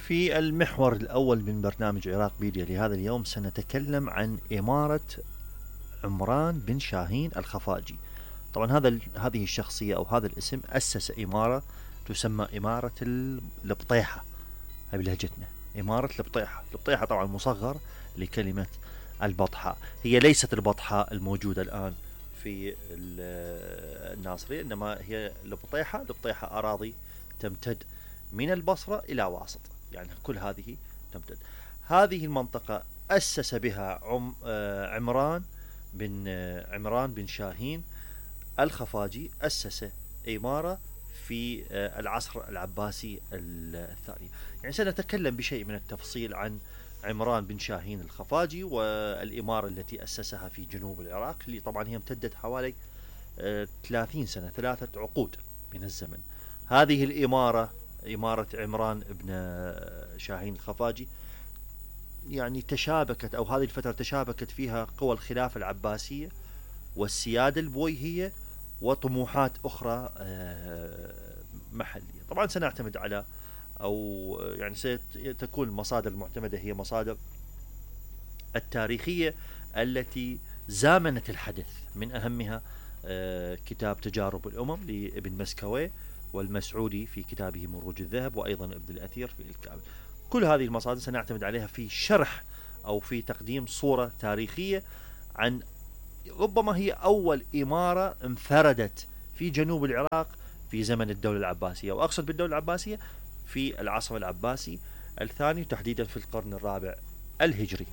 في المحور الأول من برنامج عراق بيديا لهذا اليوم سنتكلم عن إمارة عمران بن شاهين الخفاجي. طبعا هذه الشخصية أو هذا الاسم أسس إمارة تسمى إمارة البطيحة، هاي بلهجتنا إمارة البطيحة. البطيحة طبعا مصغر لكلمة البطحاء، هي ليست البطحاء الموجودة الآن في الناصرية، إنما هي البطيحة. البطيحة أراضي تمتد من البصرة إلى واسط، يعني كل هذه تمتد. هذه المنطقة أسس بها عمران بن شاهين الخفاجي، أسس إمارة في العصر العباسي الثاني. يعني سنتكلم بشيء من التفصيل عن عمران بن شاهين الخفاجي والإمارة التي أسسها في جنوب العراق، اللي طبعا هي امتدت حوالي 30 سنة، 3 عقود من الزمن. هذه الإمارة، إمارة عمران بن شاهين الخفاجي، يعني تشابكت، أو هذه الفترة تشابكت فيها قوى الخلافة العباسية والسيادة البويهية وطموحات أخرى محلية. طبعا سنعتمد على، أو يعني ستكون المصادر المعتمدة هي مصادر التاريخية التي زامنت الحدث، من أهمها كتاب تجارب الأمم لابن مسكوي، والمسعودي في كتابه مروج الذهب، وأيضا ابن الأثير في الكامل. كل هذه المصادر سنعتمد عليها في شرح أو في تقديم صورة تاريخية عن ربما هي أول إمارة انفردت في جنوب العراق في زمن الدولة العباسية، وأقصد بالدولة العباسية في العصر العباسي الثاني، تحديدا في القرن الرابع الهجري.